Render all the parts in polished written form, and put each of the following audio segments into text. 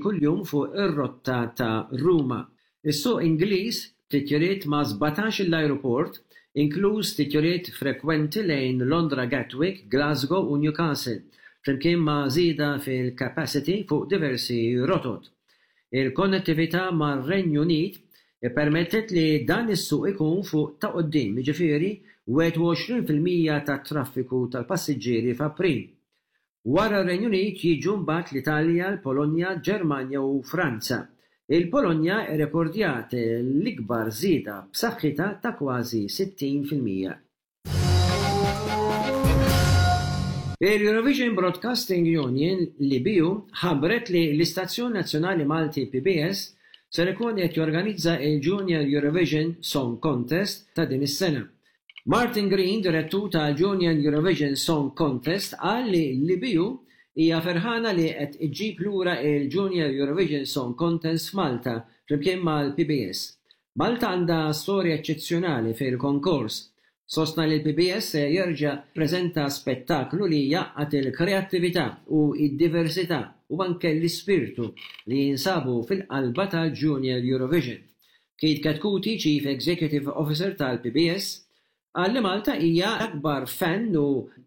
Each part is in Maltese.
kuljum fuq ir-rotta ta' Ruma. Is-suq Ingliż, b'titjiriet ma' 17-il ajruport, inkluż titjiriet frekwenti lejn Londra Gatwick, Glasgow u Newcastle, flimkien ma' żieda fil-capacity fuq diversi rotot. Il-konnettività mar-Renju Unit ippermettiet li dan is-suq ikun fuq ta' quddiem, jiġifieri 21% tat-traffiku tal-passiġġieri f'April. Wara r-Renju Unit jiġu mbagħad l-Italja, l-Polonja, Ġermanja u Franza. Il-Polonja rrekordjat l-ikbar żieda b'saħħitha ta' kważi 60%. Il-Eurovision Broadcasting Union, l-EBU, ħabbret li l-istazzjon nazzjonali Malti PBS ser ikun qed jorganizza il-Junior Eurovision Song Contest ta' din is-sena. Martin Green, direttur tal-Junior Eurovision Song Contest, qal li l-EBU hija ferħana li qed iġġib lura il-Junior Eurovision Song Contest f'Malta flimkien mal-PBS. Malta għandha storja eċċezzjonali fil-konkors. Sostna li l-PBS se jerġa' jippreżenta spettaklu li jgħaqqad il-kreattività u d-diversità u anke l-ispirtu li jinsabu fil-qalba tal-Junior Eurovision. Keith Chetcuti, Chief Executive Officer tal-PBS, qal li Malta hija l-akbar fan u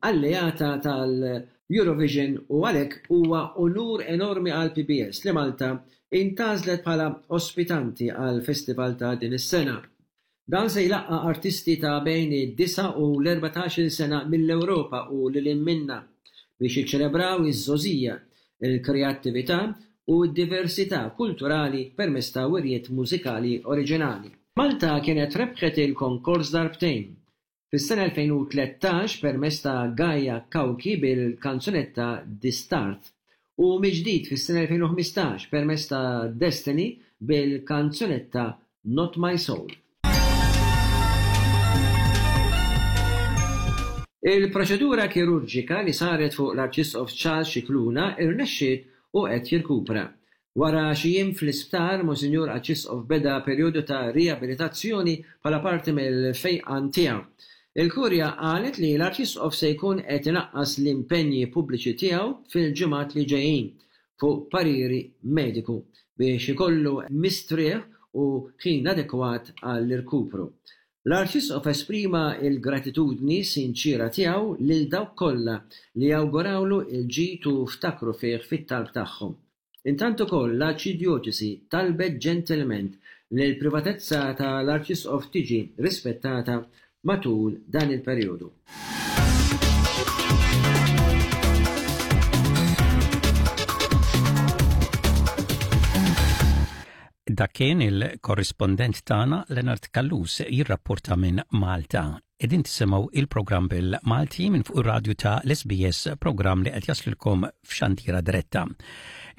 alleata tal-Eurovision u għalhekk huwa unur enormi għall-PBS li Malta intgħażlet bħala ospitanti għall-festival ta' din is-sena. Dan se jlaqqa' artisti ta' bejn id-disa' u l-erbatax-il sena mill-Ewropa u lil hinn minnha biex jiċċelebraw iż-żgħożija, il-kreattività u d-diversità kulturali permezz ta' wirjiet mużikali oriġinali. Malta kienet rebħet il-konkors darbtejn, fis-sena 2013 permezz ta' Gaia Cauchi bil-kanzunetta Distart u mill-ġdid fis-sena 2015 permezz ta' Destiny bil-kanzunetta Not My Soul. Il-proċedura kirurġika li saret fuq l-Arċisqof Charles Scicluna rnexxiet u qed jirkupra. Wara xi jiem fl-isptar, Monsinjur Arċisqof beda perjodu ta' riabilitazzjoni bħala parti mill-fejqan tiegħu. Il-Kurja qalet li l-Arċisqof se jkun qed inaqqas l-impenji pubbliċi tiegħu fil-ġimgħat li ġejjin fuq pariri mediku biex ikollu mistrieħ u ħin adekwat għall-irkupru. L-Arċisqof esprima l-gratitudni sinċiera tiegħu lil dawk kollha li awgurawlu l-ġid u ftakru fih fit-talb tagħhom. Intant ukoll l-Arċidjoċesi talbet ġentilment li l-privatezza ta' l-Arċisqof tiġi rispettata matul dan il-perjodu. Dak kien il-korrispondent tagħna Leonard Callus jirrapporta minn Malta. Qegħdin tisimgħu il-programm bil-Malti minn fuq ir-radju ta' l-SBS, programm li qed jaslilkom f'xandira diretta.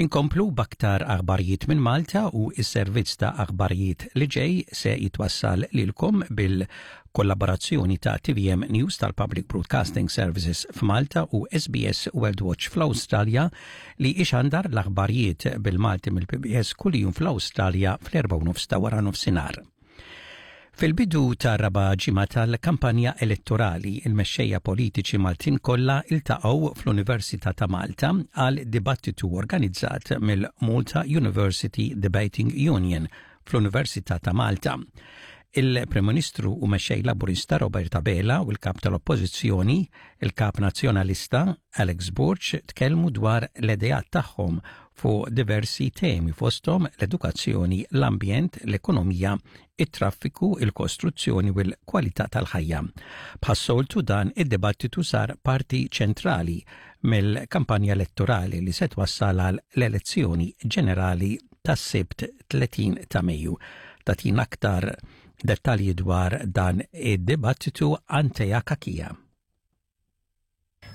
Inkomplu b'aktar aħbarijiet minn Malta u s-servizz ta' aħbarijiet li ġej se jitwassal lilkom bil-kollaborazzjoni ta' TVM News tal-Public Broadcasting Services f'Malta u SBS World Watch fl-Awstralja li ixandar l-aħbarijiet bil-Malti mill-PBS kuljum fl-Awstralja fl-4:30 ta' wara nofsinhar. Fil-bidu tar-raba' ġimgħa tal-kampanja elettorali, il-mexxejja politiċi Maltin kollha iltaqgħu fl-Università ta' Malta għal dibattitu organizzat mill-Malta University Debating Union fl-Università ta' Malta. Il-Prim Ministru u Mexxej Laburista Robert Abela u l-Kap tal-Oppożizzjoni, il-Kap Nazzjonalista Alex Borg tkellmu dwar l-ideat tagħhom fuq diversi temi fosthom l-edukazzjoni, l-ambjent, l-ekonomija, it-traffiku, il-kostruzzjoni u l-kwalità tal-ħajja. Bħas-soltu dan id-dibattitu sar parti ċentrali mill-kampanja elettorali li se twassal għal l-elezzjoni ġenerali tas-Sibt 30 ta' Mejju. Tagħtina aktar dettalji dwar dan id-dibattitu Antea Cachia.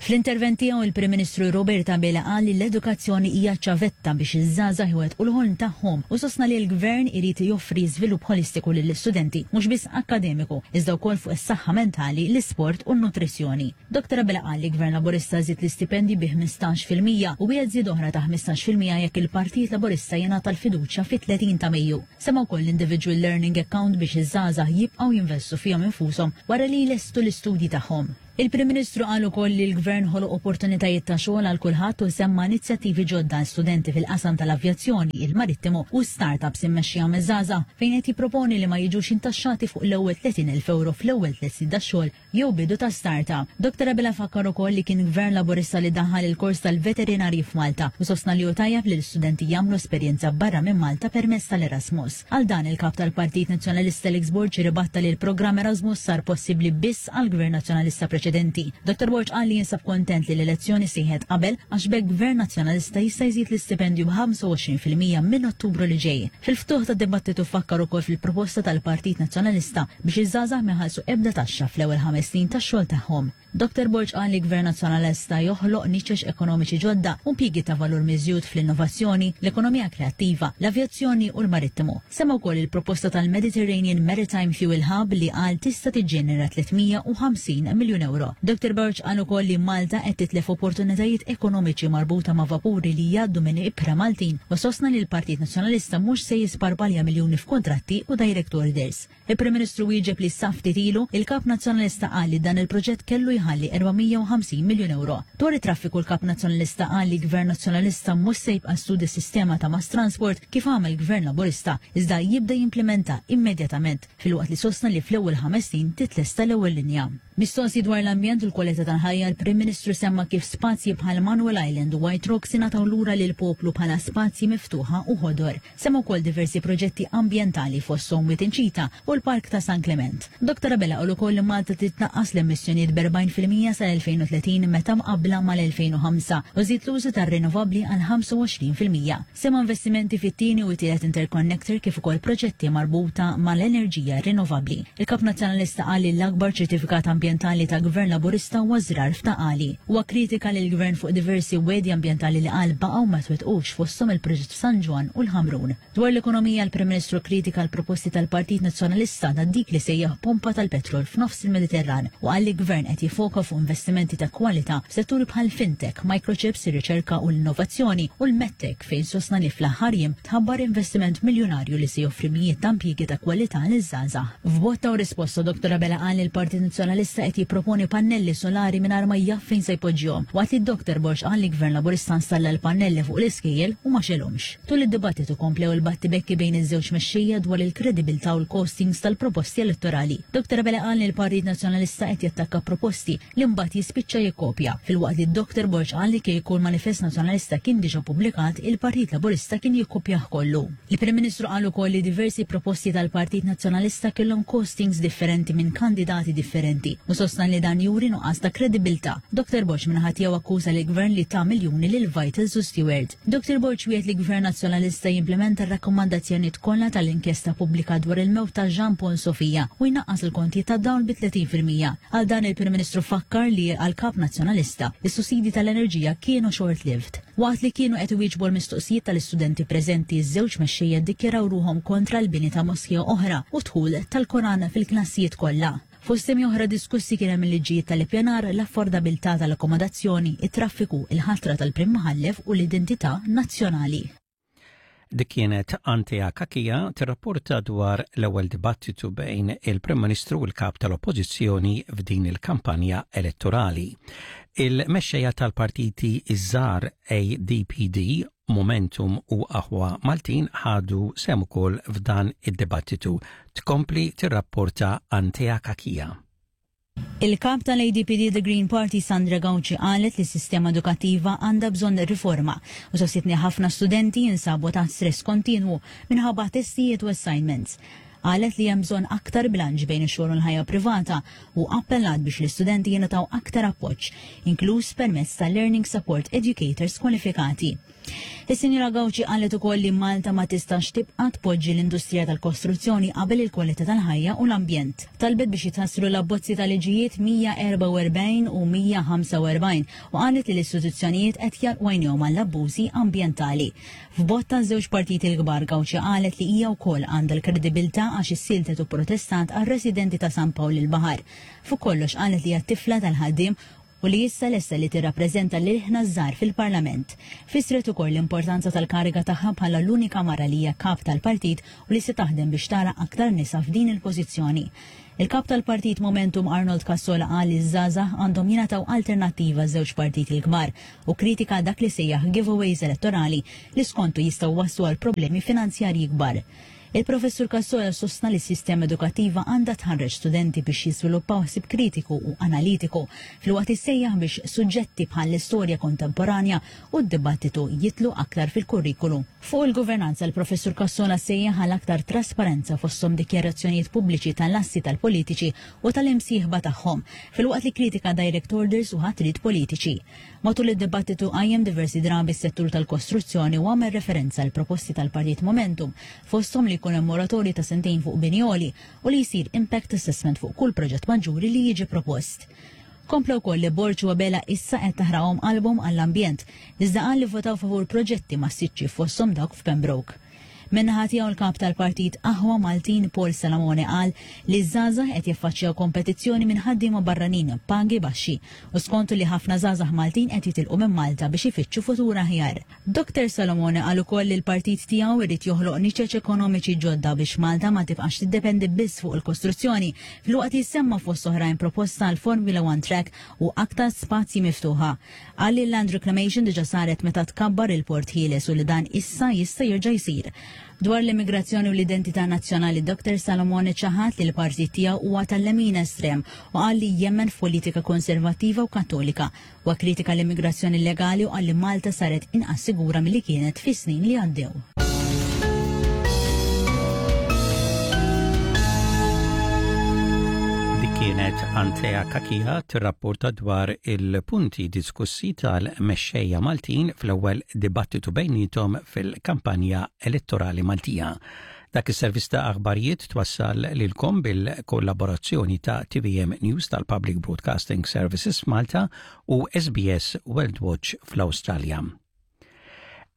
Fl-intervent tiegħu il-Prim Ministru Robert Abela qal li l-edukazzjoni hija ċ-ċavetta biex iż-żgħażagħ iwettqu l-ħolm tagħhom u sostna li l-Gvern irid joffri żvilupp ħolistiku lill-istudenti mhux biss akkademiku iżda wkoll fuq is-saħħa mentali, l-isport u n-nutrizzjoni. Dottor Abela qal li Gvern Laburista żied l-istipendji bi 15% u wiegħed żieda oħra ta' 15% jekk il-Partit Laburista jingħata l-fiduċja fit-30 ta' Mejju. Semma wkoll l-Individual Learning Account biex iż-żgħażagħ jibqgħu jinvestu fihom infushom wara li jlestu l-istudji tagħhom. Il-Prim Ministru qal ukoll li l-Gvern ħoloq opportunitajiet ta' xogħol għal kulħadd u semma inizjattivi ġodda għal studenti fil-qasam tal-avjazzjoni, il-marittimu u startups immexxija miż-żgħażagħ fejn qed jipproponi li ma jiġux intaxxati fuq l-ewwel 30,000 ewro fl-ewwel tliet snin tax-xogħol jew bidu ta' startup. Dr Abela fakkar ukoll li kien Gvern Laburista li daħħal il-kors tal-veterinarji f'Malta u sostna li hu tajjeb li l-istudenti jagħmlu esperjenza barra minn Malta permezz tal-Erasmus. Għal dan, il-Kap tal-Partit Nazzjonalista Alex Borg irribatta li l-programm Erasmus sar possibbli biss għall-Gvern Nazzjonalista preċedenti. Dottor Borg qal li jinsab kontent li l-elezzjoni sejħet qabel għax b'hekk Gvern Nazzjonalista jista' jżid l-istipendju b'25% minn Ottubru li ġej. Fil-ftuħ tad-dibattitu fakkar ukoll fil-proposta tal-Partit Nazzjonalista biex iż-żgħażagħ ma jħallsu ebda taxxa fl-ewwel ħames snin tax-xogħol tagħhom. Dottor Borg qal li Gvern Nazzjonalista joħloq niċeċ ekonomiċi ġodda u impjiegi ta' valur miżjud fl-innovazzjoni, l-ekonomija kreattiva, l-avjazzjoni u l-marittimu. Semma wkoll il-proposta tal-Mediterranean Maritime Fuel Hub li qal tista' tiġġenera 350 miljun ewro. Dottor Borg qal ukoll li Malta qed titlef opportunitajiet ekonomiċi marbuta ma' vapuri li jgħaddu minn ibħra Maltin u sostna li l-Partit Nazzjonalista mhux se jisparpalja miljuni f'kuntratti u direct orders. Il-Prim Ministru wieġeb li sa ftit ilu, il-Kap Nazzjonalista qal li dan il-proġett kellu jħalli 450 miljun ewro. Dwar it-traffiku l-Kap Nazzjonalista qal li Gvern Nazzjonalista mhux se jibqa' studja s-sistema ta' mass transport kif għamel Gvern Laburista, iżda jibda jimplimenta immedjatament, filwaqt li sostna li fl-ewwel ħames snin titlesta l-ewwel linja. Mistoqsi dwar l-ambjent u l-kwalità tal-ħajja, l-Prim Ministru semma kif spazji bħal Manoel Island u White Rocks ingħataw lura lill-poplu bħala spazji miftuħa u ħodor. Semma wkoll diversi proġetti ambjentali fosthom Wied Inċita u l-Park ta' San Klement. Dottor Abela qal ukoll li Malta trid tnaqqas l-emissjonijiet b'40% sal-2030 meta mqabbla mal-2005 u żied l-użu tar-rinnovabbli għal 25%. Semma investimenti fit-tieni u t-tielet interconnector kif ukoll proġetti marbuta mal-enerġija rinnovabbli. Il-Kap Nazzjonalista qal li l-akbar ċertifikat ambjentali ta' Gvern Laburista huwa ż-żrar f'Ta' Qali. Huwa kkritika lill-Gvern fuq diversi wegħdi ambjentali li qal baqgħu ma twettqux fosthom il-proġett f'San Ġwann u l-Ħamrun. Dwar l-ekonomija l-Prim Ministru kkritika l-proposti tal-Partit Nazzjonalista ta' dik li sejjaħ pompa tal-petrol f'nofs il-Mediterran u qal li Gvern qed jiffoka fuq investimenti ta' kwalità f'setturi bħal fintech, microchips, ir-riċerka u l-innovazzjoni u l-medtech fejn sostna li fl-aħħar jiem tħabbar investiment miljunarju li se joffri mijiet ta' impjiegi ta' kwalità liż-żgħażagħ. F'botta u risposta Dottor Abela qal li l-Partit Nazzjonalista qed jipproponi pannelli solari mingħajr ma jaf fejn se jpoġġihom waqt li Dottor Borg qal li Gvern Laburista installa l-pannelli fuq l-iskejjel u ma xegħlhomx. Tul id-dibattitu komplew il-battibekki bejn iż-żewġ mexxejja dwar il-kredibilità u l-costings tal-proposti elettorali. Dottor Abela qal li l-Partit Nazzjonalista qed jattakka proposti li mbagħad jispiċċa jikkopja, filwaqt li Dottor Borg qal li kieku l-Manifest Nazzjonalista kien diġà ppubblikat, il-Partit Laburista kien jikkopjah kollu. Il-Prim Ministru qal ukoll li diversi proposti tal-Partit Nazzjonalista kellhom costings differenti minn kandidati differenti u sostna li dan juri nuqqas ta' kredibilità. Dottor Borg min-naħa tiegħu akkuża lill-Gvern li ta miljuni lil Vitals u Steward. Dottor Borg wiegħed li Gvern Nazzjonalista jimplimenta r-rakkomandazzjonijiet kollha tal-inkjesta pubblika dwar il-mewt ta' Jean Paul Sofia u jnaqqas il-kontijiet tad-dawl bi 30%. Għal dan il-Prim Ministru fakkar li għall-Kap Nazzjonalista, is-sussidji tal-enerġija kienu short-lived. Waqt li kienu qed iwieġbu għall-mistoqsijiet tal-istudenti preżenti, iż-żewġ mexxejja ddikjaraw ruħhom kontra l-bini ta' moskea oħra u d-dħul tal-Koran fil-klassijiet kollha. Fost temi oħra diskussi kien hemm il-liġijiet tal-ippjanar, l-affordabilità tal-akkomodazzjoni, it-traffiku, il-ħatra tal-Prim Mħallef u l-identità nazzjonali. Dik kienet Antea Cachia tirrapporta dwar l-ewwel dibattitu bejn il-Prim Ministru u l-Kap tal-Oppożizzjoni f'din il-kampanja elettorali. Il-mexxejja tal-partiti iż-żgħar ADPD, Momentum u Aħwa Maltin ħadu sehem ukoll f'dan id-dibattitu. Tkompli tirrapporta Antea Cachia. Il-Kap tal-ADPD The Green Party Sandra Gauci qalet li s-sistema edukattiva għandha bżonn riforma u sostniet li ħafna studenti jinsabu taħt stress kontinwu minħabba testijiet u assignments. Qalet li hemm bżonn aktar bilanċ bejn ix-xogħol u l-ħajja privata u appellat biex l-istudenti jingħataw aktar appoġġ, inkluż permezz ta' Learning Support Educators kwalifikati. Is-Sinjura Gauci qalet ukoll li Malta ma tistax tibqa' tpoġġi l-industrija tal-kostruzzjoni qabel il-kwalità tal-ħajja u l-ambjent. Talbet biex jitħassru l-abbozzi ta' liġijiet 144 u 145 u qalet li l-istituzzjonijiet qed jagħlqu għajnejhom għall-abbużi ambjentali. F'botta ż-żewġ partiti l-kbar Gauci qalet li hija wkoll għandha l-kredibilità għax issieltet u pprotestat għar-residenti ta' San Pawl il-Baħar. Fuq kollox qalet li hija t-tifla tal-ħaddiem. u li issa lesta li tirrappreżenta l-ilħna ż-żgħar fil-Parlament. Fissret ukoll l-importanza tal-kariga tagħha bħala l-unika mara li hija kap tal-partit u li se taħdem biex tara aktar nisa f'din il-pożizzjoni. Il-Kap tal-Partit Momentum Arnold Cassola qal li ż-żgħażagħ għandhom jingħataw alternattiva għaż-żewġ partiti l-kbar u kkritika dak li sejjaħ giveaways elettorali li skontu jistgħu jwasslu għal problemi finanzjarji kbar. Il-Professur Cassola sostna li s-sistema edukattiva għandha tħarreġ studenti biex jiżviluppaw ħsieb kritiku u analitiku filwaqt li sejjaħ biex suġġetti bħall-istorja kontemporanja u d-dibattitu jidħlu aktar fil-kurrikulu. Fuq il-governanza, il-Professur Cassola sejjaħ għal aktar trasparenza fosthom dikjarazzjonijiet pubbliċi tal-assi tal-politiċi u tal-imsieħba tagħhom, filwaqt li kkritika direct orders u ħatriet politiċi. Matul id-dibattitu qajjem diversi drabi s-settur tal-kostruzzjoni u għamel referenza għal proposti tal-Partit Momentum, fosthom li jkun hemm moratorju ta' sentejn fuq bini għoli u li jsir impact assessment fuq kull proġett maġġuri li jiġi propost. Kompla wkoll li Borg u Abela issa qed taħraqhom qalbhom għall-ambjent, iżda qal li votaw favur proġetti massiċċi fosthom dawk f'Pembroke. Min-naħa tiegħu l-Kap tal-Partit Aħwa Maltin Paul Salamone qal li ż-żgħażagħ qed jaffaċċjaw kompetizzjoni minn ħaddiema barranin b'pagi baxxi u skontu li ħafna żgħażagħ Maltin qed jitilqu minn Malta biex ifittxu futur aħjar. Dr Salomone qal ukoll li l-partit tiegħu irid joħloq niċeċ ekonomiċi ġodda biex Malta ma tibqax tiddependi biss fuq il-kostruzzjoni filwaqt li semma fost oħrajn proposta għal Formula One Track u aktar spazji miftuħa. Qal li l-land reclamation diġà saret meta tkabbar il-Port Ħieles u li dan issa jista' jerġa' jsir. Dwar l-immigrazzjoni u l-identità nazzjonali Dr. Salomone ċaħad li l-partit tiegħu huwa tal-lemin estrem u qal li jemmen f'politika konservattiva u kattolika. Huwa kkritika l-immigrazzjoni illegali u qal li Malta saret inqas sigura milli kienet fis-snin li għaddew. Dik kienet Antea Cachia tirrapporta dwar il-punti diskussi tal-mexxejja Maltin fl-ewwel dibattitu bejniethom fil-kampanja elettorali Maltija. Dak is-servizz ta' aħbarijiet twassal lilkom bil-kollaborazzjoni ta' TVM News tal-Public Broadcasting Services Malta u SBS World Watch fl-Awstralja.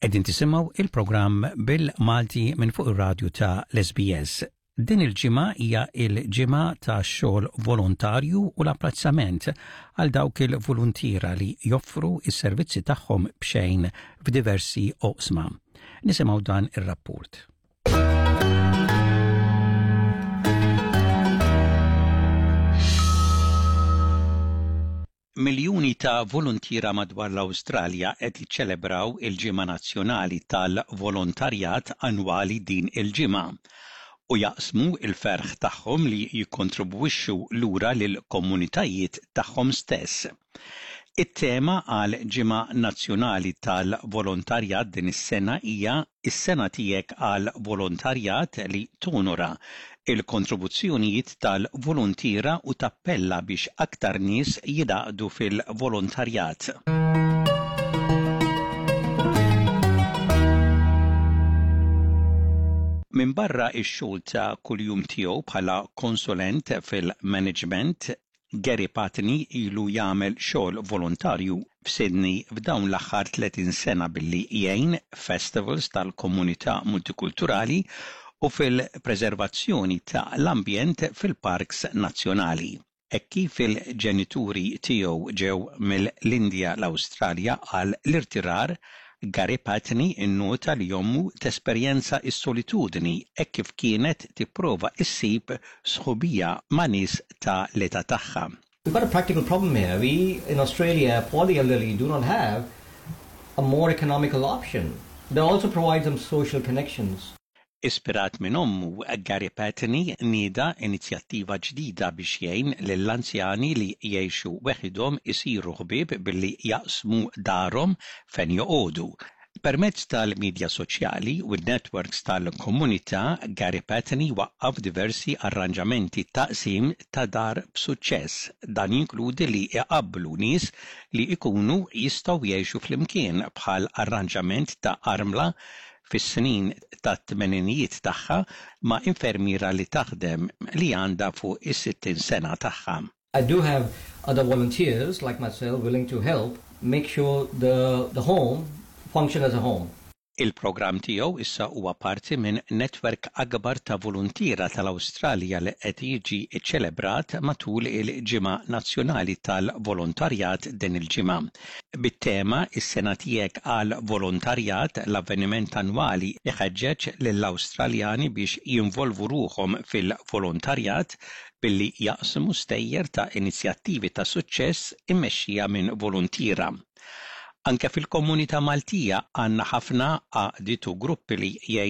Qegħdin tisimgħu il-programm bil-Malti minn fuq ir-radju ta' l-SBS. Din il-ġimgħa hija l-ġimgħa ta' xogħol volontarju u l-apprezzament għal dawk il-voluntiera li joffru s-servizzi tagħhom b'xejn f'diversi oqsma. Nisimgħu dan ir-rapport. Miljuni ta' voluntiera madwar l-Awstralja qed jiċċelebraw il-Ġimgħa Nazzjonali tal-Volontarjat annwali din il-ġimgħa u jaqsmu l-ferħ tagħhom li jikkontribwixxu lura lill-komunitajiet tagħhom stess. It-tema għall-Ġimgħa Nazzjonali tal-Volontarjat din is-sena hija Is-Sena Tiegħek għall-Volontarjat li tonora l-kontribuzzjonijiet tal-voluntiera u tappella biex aktar nies jingħaqdu fil-volontarjat. Minbarra x-xogħol ta' kuljum tiegħu bħala konsulent fil-maniġment, Gary Patney ilu jagħmel xogħol volontarju f'Sydney f'dawn l-aħħar 30 sena billi jgħin f'festivals tal-komunità multikulturali u fil-preservazzjoni ta' l-ambjent fil-parks nazzjonali. Hekk kif il-ġenituri tiegħu ġew mill-Indja l-Awstralja għal l-irtirar, Gary Patney innota li ommu tesperjenza s-solitudni hekk kif kienet tipprova ssib sħubija ma' nies ta' l-età tagħha. We've got a practical problem here. We in Australia for the elderly do not have a more economical option that also provides them social connections. Ispirat minn ommu, Gary Patney nieda inizjattiva ġdida biex jgħin lill-anzjani li jgħixu weħidhom isiru ħbieb billi jaqsmu darhom fejn joqogħdu. Permezz tal-midja soċjali u n-networks tal-komunità, Gary Patney waqqaf diversi arranġamenti ta' qsim ta' dar b'suċċess. Dan jinkludi li jqabblu nies li jkunu jistgħu jgħixu flimkien bħal arranġament ta' armla fis-snin tat-tmeninijiet tagħha ma' infermiera li taħdem li għandha fuq is-60 sena tagħha. I do have other volunteers like myself willing to help make sure the the home function as a home. Il-programm tiegħu issa huwa parti minn netwerk akbar ta' voluntiera tal-Awstralja li qed jiġi ċċelebrat matul il-Ġimgħa Nazzjonali tal-Volontarjat din il-ġimgħa. Bit-tema Is-sena tiegħek għall-volontarjat, l-avveniment annwali iħeġġeġ lill-Awstraljani biex jinvolvu ruħhom fil-volontarjat billi jaqsmu stejjer ta' inizjattivi ta' suċċess immexxija minn voluntiera. Anke fil-komunità Maltija għandna ħafna għaqdiet u gruppi li jgħinu.